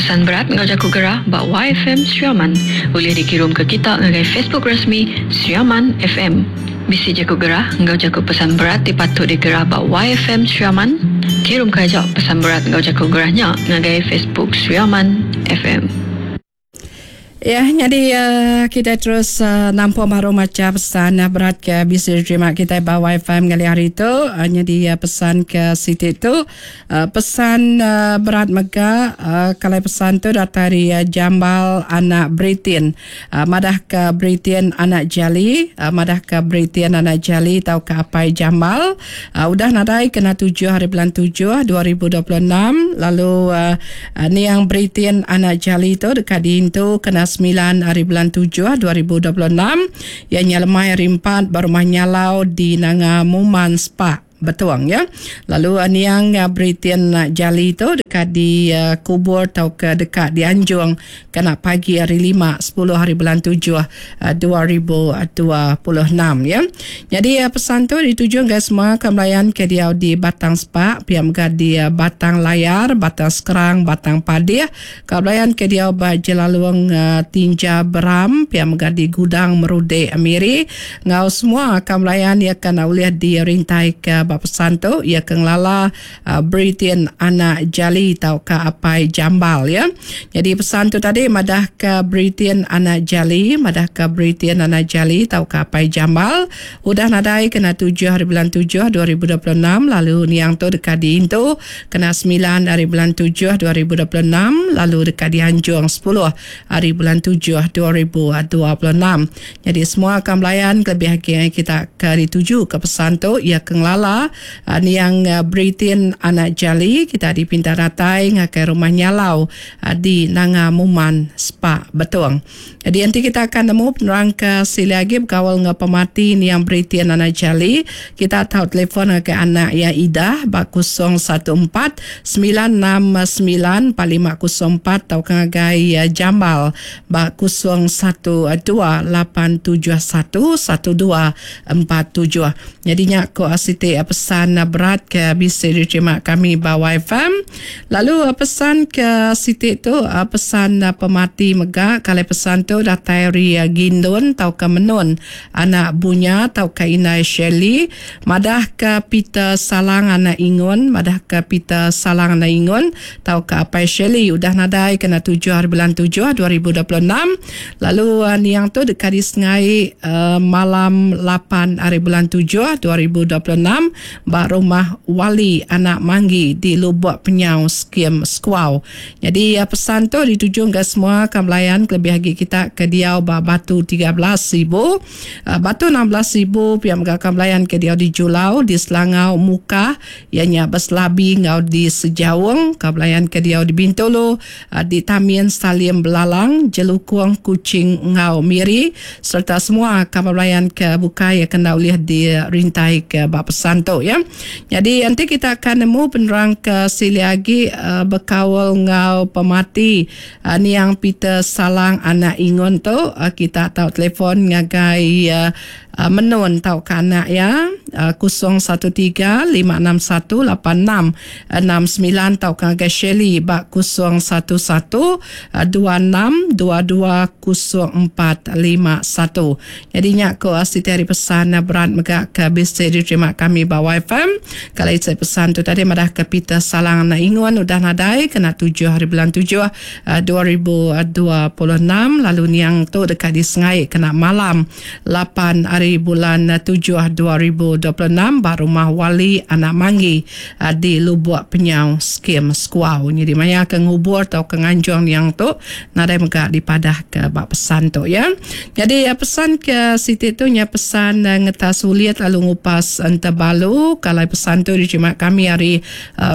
Pesan berat enggau jaku gerah ba YFM Sri Aman ulih dikirumka kita ngagai Facebook rasmi Sri Aman FM. Bisi jaku gerah enggau jaku pesan berat ti patut digerah ba YFM Sri Aman? Kirumka aja pesan berat enggau jaku gerah nya ngagai Facebook Sri Aman FM. Ya, nyadi kitai terus nampung baru macha pesan berat ke bisi diterima kitai ba wifi ngalih hari tu. Nyadi pesan ke siti tu pesan berat mega kalai pesan tu datai ari Jambal anak Britin. Madah ke Britin anak Jali, madah ke Britin anak Jali tauka apai Jambal udah nadai kena tujuh hari bulan tujuh 2026 lalu Niang Britin anak Jali tu deka diintu kena semilan ari bulan tujuh 2026 iya nya lemai hari empat ba Rumah Nyalau di Nanga Muman Spak, Betong ya. Lalu niang Britin anak Jali tu deka dikubur tauka deka dianjung kena pagi hari lima sepuluh hari bulan tujuh 2026 ya. Nyadi pesan tu dituju ngagai semua ke melayan ke diau di Batang Spak, pia mega di Batang Layar, Batang Skrang, Batang Padih, ke belayan ke diau ba Jelalung Tinja Beram, pia mega di Gudang Merudek Miri enggau semua ke melayan iya ke enda ulih dirintai ke ba pesan tu iya ke ngelala Britin anak Jali tauka apai Jambal ya. Nyadi pesan tu tadi madahka Britin anak Jali, madahka Britin anak Jali tauka apai Jambal udah nadai kena tujuh hari bulan tujuh 2026 lalu niang tu deka diintu kena semilan hari bulan tujuh 2026 lalu deka dianjung sepuluh hari bulan tujuh 2026. Nyadi semua ka belayan kelebih agi kita ke dituju ke pesan tu iya ke ngelala niang Britin anak Jali kita dipinta datai ngagai Rumah Nyalau di Nanga Muman Spak Betong. Nyadi enti kita ka nemu penerang ke silik agi bekaul enggau pemati niang Britin anak Jali kita tau telefon ngagai anak iya Idah ba 014 969 4504 tauka ngagai Jambal ba 012 871 1247. Nyadi nya ko siti pesan berat ke bisi diterima kami ba YFM. Lalu pesan ke siti tu pesan pemati mega kalai pesan tu datai ari Gindun tauka Menun anak Bunya tauka indai Shirley madah ke Peter Salang anak Ingun madah ke Peter Salang anak Ingun tauka apai Shirley udah nadai kena tujuh hari bulan tujuh 2026 lalu niang tu deka disengai malam lapan hari bulan tujuh 2026 ba Rumah Wali anak Manggi di Lubok Penyau Skim Sekuau. Nyadi pesan tu dituju ngagai semua ka belayan kelebih agi kita ke diau ba Batu 13,000 Batu 16,000 pia mega ka belayan ke diau di Julau di Selangau Mukah iya nya Beselabi enggau di Sejaung, ka belayan ke diau di Bintulu, di Tamin Salim Belalang, Jelukong, Kuching enggau Miri sereta semua ka belayan ke bukai ke enda ulih dirintai ke ba pesan tu ya. Nyadi enti kita ka nemu penerang ke silik agi bekaul enggau pemati niang Peter Salang anak Ingun tu kita tau telefon ngagai Menun tauka anak iya 013 561 8669 tauka ngagai Shirley ba 011 26 22 0451. Nyadi nya ko siti ari pesan berat mega ke bisi diterima kami ba YFM. Kala isi pesan tu tadi madah ke Peter Salang anak Ingun udah nadai kena tujuh hari bulan tujuh 2026 lalu niang tu deka disengai kena malam lapan ari bulan tujuh 2026 ba Rumah Wali anak Manggi di Lubok Penyau Skim Sekuau. Nyadi maya ke ngubur tauka nganjung niang tu nadai mega dipadah ke ba pesan tu ya. Nyadi pesan ke siti tu nya pesan ngetas ulit lalu ngupas entebalu kalai pesan tu diterima kami ari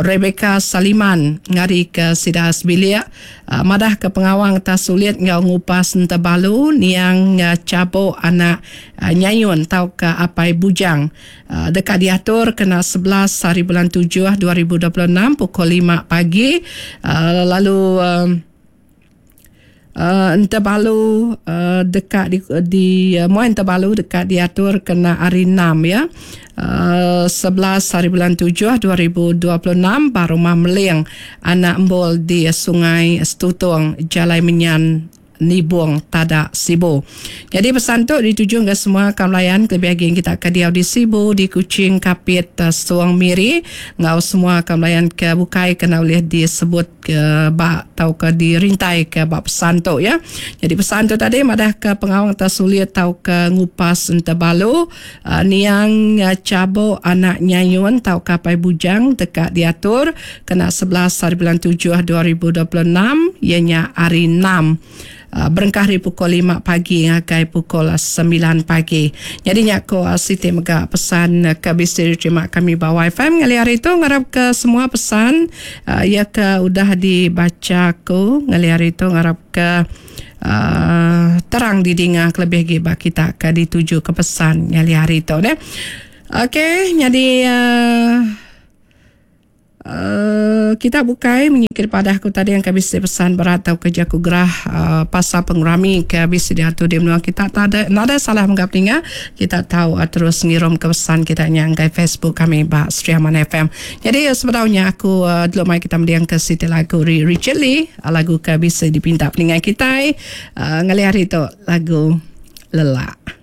Rebecca Saliman ngari ke sida sebilik madah ke pengawa ngetas ulit enggau ngupas entebalu niang Chabok anak Nyayun tauka Apai Bujang deka diatur kena 11 hari bulan 7 2026 pukul 5 pagi lalu. Entebalu deka di di muai Entebalu deka diatur kena hari enam iya 11 haribulan tujuh 2026 ba Rumah Meling Anak Embol di Sungai Stutong Jalai Menyan Nibong Tada Sibu. Nyadi pesan tu dituju ngagai semua kaum layan kelebih agi kita ke diau di Sibu, di Kuching, Kapit, Suang Miri enggau semua kaum layan ke bukai ke enda ulih disebut ke ba tauka dirintai ke ba pesan tu ya. Nyadi pesan tu tadi madah ke pengawa ngeta sulit tauka ngupas entebalu Niang Chabok anak Nyayun tauka Apai Bujang deka diatur kena 11 haribulan tujuh 2026 iya nya hari enam berengkah ari pukul lima pagi ngagai pukul semilan pagi. Nyadi nya ko siti mega pesan ke bisi diterima kami ba WiFi ngalih hari tu ngarap ke semua pesan iya ke udah dibacha aku ngalih hari tu ngarap ke Terang didinga kelebih agi ba kita ke dituju ke pesan ngalih hari tu neh. Okey nyadi uhh kita bukai munyi ke dipadah ku tadi engka bisi pesan berat tauka jaku gerah uhh pasal pengerami ke bisi diatur di menua kita tadi nadai salah mega peninga kita tau terus ngirum ke pesan kita nya ngagai Facebook kami ba Sri Aman FM. Nyadi sebedau nya aku dulu mai kita mending ke siti lagu Richard Lee. Lagu ke bisi dipinta peningai kitai ngalih hari tu lagu Lelak.